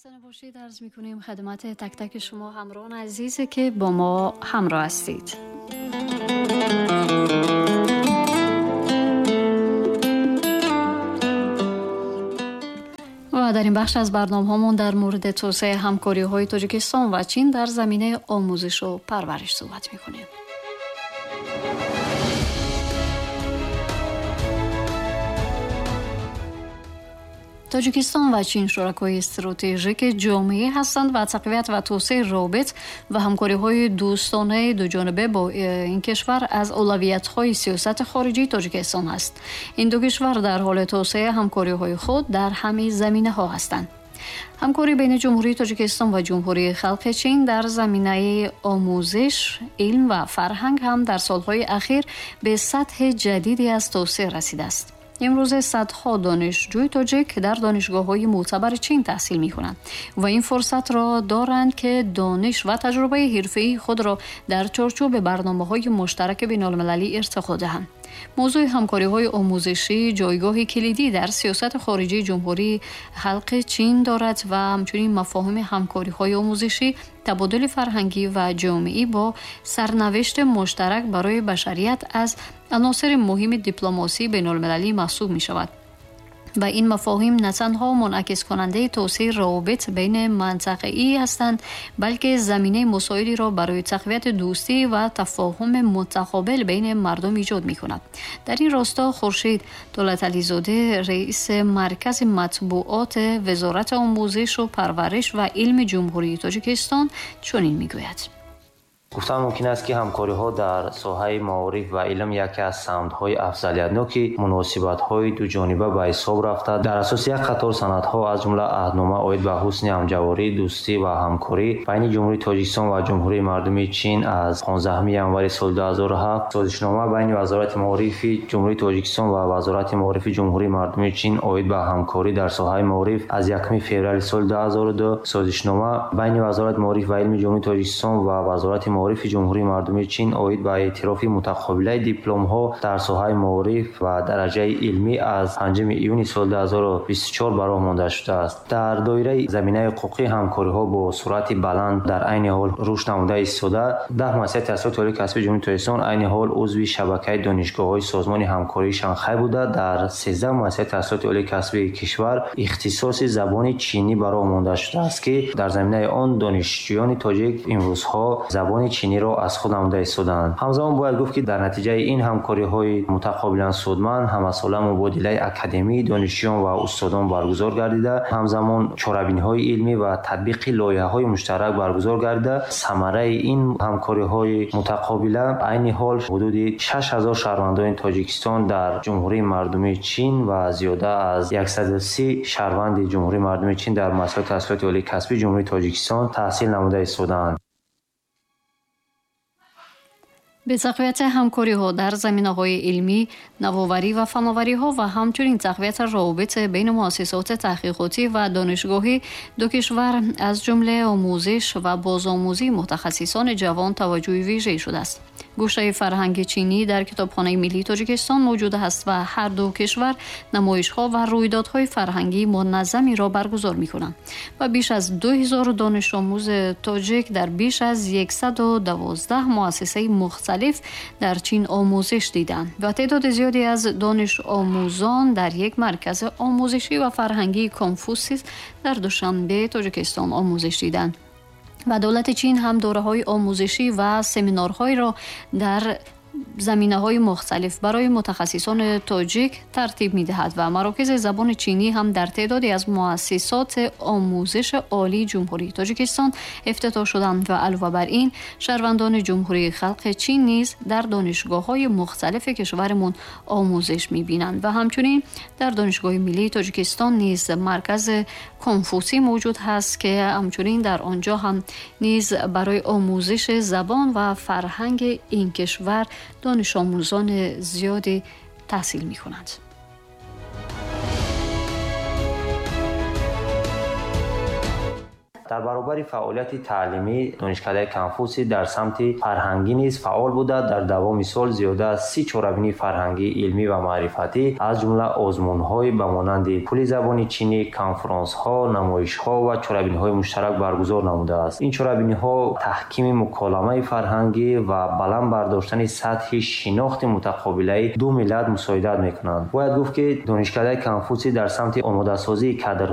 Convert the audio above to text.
خسته نباشید عرض میکنیم خدمت تک تک شما همراهان عزیزی که با ما همراه هستید. و در این بخش از برنامه‌هامون در مورد توسعه همکاری‌های تاجیکستان و چین در زمینه آموزش و پرورش صحبت میکنیم. تاجیکستان و چین شرکای استراتژیک جامعه هستند و تقویت و توسعه روابط و همکاری‌های دوستانه دو جانبه با این کشور از اولویت‌های سیاست خارجی تاجیکستان است. این دو کشور در حال توسعه همکاری‌های خود در همه زمینه‌ها هستند. همکاری بین جمهوری تاجیکستان و جمهوری خلق چین در زمینه آموزش، علم و فرهنگ هم در سالهای اخیر به سطح جدیدی از توسعه رسیده است. امروز صدها دانشجوی تاجیک در دانشگاه‌های معتبر چین تحصیل می‌کنند و این فرصت را دارند که دانش و تجربه حرفه‌ای خود را در چارچوب برنامه‌های مشترک بین‌المللی ارتقا دهند. موضوع همکاری‌های آموزشی جایگاه کلیدی در سیاست خارجی جمهوری خلق چین دارد و همچنین مفاهیم همکاری‌های آموزشی، تبادل فرهنگی و جامعی با سرنوشت مشترک برای بشریت از عناصر مهم دیپلماسی بین‌المللی محسوب می‌شود. و این مفاهیم نه تنها منعکس کننده توسعه روابط بین منطقه‌ای هستند، بلکه زمینه مساعدی را برای تقویت دوستی و تفاهم متقابل بین مردم ایجاد می‌کند. در این راستا خورشید دولتعلی‌زاده، رئیس مرکز مطبوعات وزارت آموزش و پرورش و علم جمهوری تاجیکستان، چنین می‌گوید: گفتن ممکن است که ҳамкориҳо дар соҳаи маориф ва илм яке аз самтҳои афзалиятноки муносибатҳои дуҷониба ба ҳисоб рафта, дар асоси як қатор санадҳо, аз ҷумла аҳднома оид ба ҳусни ҳамҷаворӣ, дӯстӣ ва ҳамкорӣ байни Ҷумҳурии Тоҷикистон ва Ҷумҳурии Мардумии Чин аз 15 январи соли 2007, созишнома байни Вазорати маорифи Ҷумҳурии Тоҷикистон ва Вазорати маорифи Ҷумҳурии Мардумии Чин оид ба ҳамкорӣ дар соҳаи маориф аз 1 феврали соли 2002, созишнома байни Вазорати маориф ва илми Ҷумҳурии Тоҷикистон ва Вазорати маорифи Ҷумҳурии Мардумии Чин оид ба эътирофи мутақобилаи дипломҳо дар соҳаи маориф ва дараҷаи илмӣ аз 5 июни соли 2024 ба роҳ монда шудааст. Дар доираи заминаи ҳуқуқӣ ҳамкориҳо бо суръати баланд дар айни ҳол рушд намуда истода, 10 муассисаи таҳсилоти олии касбии Ҷумҳурии Тоҷикистон айни ҳол узви шабакаи донишгоҳҳои Созмони ҳамкории Шанхай буда, дар 13 муассисаи таҳсилоти олии касбии кишвар ихтисоси забони чинӣ ба роҳ монда шудааст, ки дар заминаи он донишҷӯёни тоҷик имрӯзҳо забони чиниро аз худ намуда истодаанд. Ҳамзамон бояд гуфт, ки дар натиҷаи ин ҳамкориҳои мутақобилан судманд ҳамасола мубодилаи академии донишҷӯён ва устодон баргузор гардида, ҳамзамон чорабиниҳои илмӣ ва татбиқи лоиҳаҳои муштарак баргузор гардида, самараи ин ҳамкориҳои мутақобила айни ҳол ҳудуди 6000 шаҳрвандони Тоҷикистон дар Ҷумҳурии Мардумии Чин ва зиёда аз 130 шаҳрванди Ҷумҳурии Мардумии Чин дар муассисаҳои таҳсилоти олии касбии Ҷумҳурии Тоҷикистон таҳсил намуда истодаанд. به تقویت همکاری‌ها در زمینه‌های علمی، نوآوری و فناوری‌ها و همچنین تقویت روابط بین مؤسسات تحقیقاتی و دانشگاهی دو کشور از جمله آموزش و بازآموزی متخصصان جوان توجه ویژه شده است. گوشه فرهنگ چینی در کتابخانه ملی تاجیکستان موجود است و هر دو کشور نمایش‌ها و رویدادهای فرهنگی منظمی را برگزار می‌کنند و بیش از 2000 دانش آموز تاجیک در بیش از 112 مؤسسه مختلف در چین آموزش دیدند و تعداد زیادی از دانش آموزان در یک مرکز آموزشی و فرهنگی کنفوسیوس در دوشنبه تاجیکستان آموزش دیدند. و دولت چین هم دوره‌های آموزشی و سمینارهایی را در زمینه‌های مختلف برای متخصصان تاجیک ترتیب می‌دهد و مراکز زبان چینی هم در تعدادی از مؤسسات آموزش عالی جمهوری تاجیکستان افتتاح شدند و علاوه بر این شهروندان جمهوری خلق چین نیز در دانشگاه‌های مختلف کشورمون آموزش می‌بینند و همچنین در دانشگاه ملی تاجیکستان نیز مرکز کنفوسی موجود هست که همچنین در آنجا هم نیز برای آموزش زبان و فرهنگ این کشور دانش آموزان زیادی تحصیل می کنند. در Дар баробари фаъолияти таълимӣ Донишкадаи Конфутсий дар самти фарҳангӣ низ фаъол буда, дар давоми сол зиёда аз 30 чорабинии фарҳангӣ, илмӣ ва маърифатӣ, аз ҷумла озмунҳои ба монанди пули забони чинӣ, конфронсҳо, намоишҳо ва чорабиниҳои муштарак баргузор намудааст. Ин чорабиниҳо таҳкими муколамаи фарҳангӣ ва баланд бардоштани сатҳи шинохти мутақобилаи ду миллат мусоидат мекунанд. Бояд гуфт, ки Донишкадаи Конфутсий дар самти омодасозии кадрҳо